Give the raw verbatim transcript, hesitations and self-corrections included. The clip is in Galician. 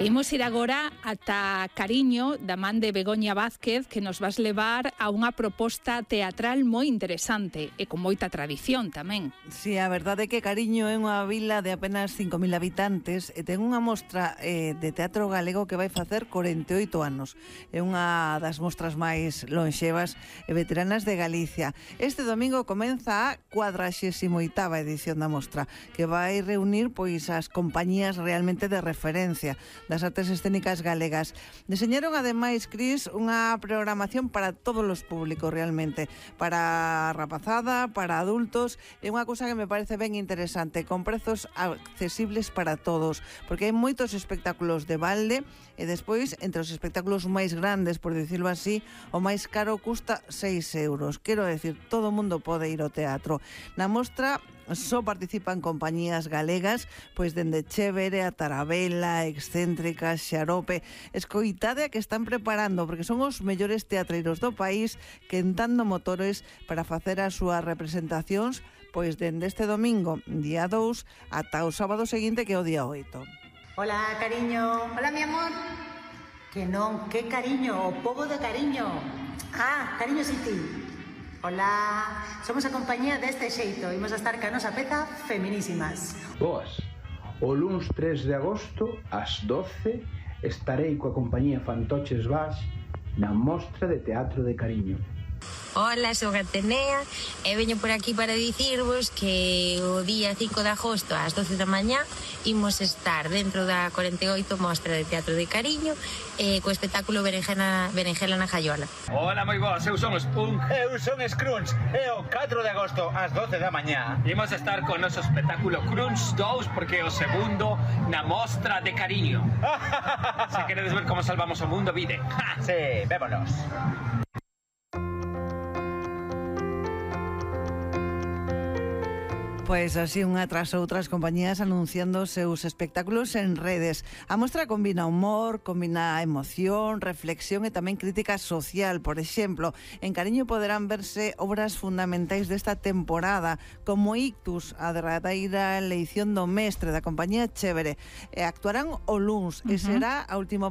Imos ir agora ata Cariño, da man de Begoña Vázquez, que nos vas levar a unha proposta teatral moi interesante e con moita tradición tamén. Si, sí, a verdade é que Cariño é unha vila de apenas cinco mil habitantes e ten unha mostra eh, de teatro galego que vai facer corenta e oito anos. É unha das mostras máis lonxevas e veteranas de Galicia. Este domingo comeza a cuadraxésima oitava edición da mostra, que vai reunir pois as compañías realmente de referencia das artes escénicas galegas. Deseñaron ademais, Cris, unha programación para todos os públicos realmente, para a rapazada, para adultos, é unha cousa que me parece ben interesante, con prezos accesibles para todos, porque hai moitos espectáculos de balde e despois, entre os espectáculos máis grandes, por dicirlo así, o máis caro custa seis euros. Quero decir, todo o mundo pode ir ao teatro. Na mostra só participan compañías galegas, pois dende Chévere a Tarabela, Excéntrica, Xarope. Escoitade a que están preparando, porque son os mellores teatreiros do país quentando motores para facer as súas representacións, pois dende este domingo, día dous, ata o sábado seguinte, que é o día oito. Hola, cariño. Hola, mi amor. Que non, que cariño, o pobo de Cariño. Ah, Cariño City. Hola, somos a compañía deste xeito. Imos a estar ca nosa peza Feminísimas. Boas, o luns tres de agosto ás doce estarei coa compañía Fantoches Baix na mostra de teatro de Cariño. Hola, son Atenea e veño por aquí para dicirvos que o día cinco de agosto ás doce da mañá imos estar dentro da corenta e oito mostra de teatro de Cariño e co espectáculo Berenjena, Berenjela na Jaiola. Hola, moi boas, eu son os Punk. Eu son Scrunch e o catro de agosto ás doce da mañá imos estar con o noso espectáculo Crunch dous porque é o segundo na mostra de Cariño. Se queredes ver como salvamos o mundo, vide. Sí, vémonos. Pois así unha tras outras compañías anunciando os seus espectáculos en redes. A mostra combina humor, combina emoción, reflexión e tamén crítica social. Por exemplo, en Cariño poderán verse obras fundamentais desta temporada, como Ictus, a derradeira eleición do mestre da compañía Chévere. E actuarán o luns, uh-huh. e será a última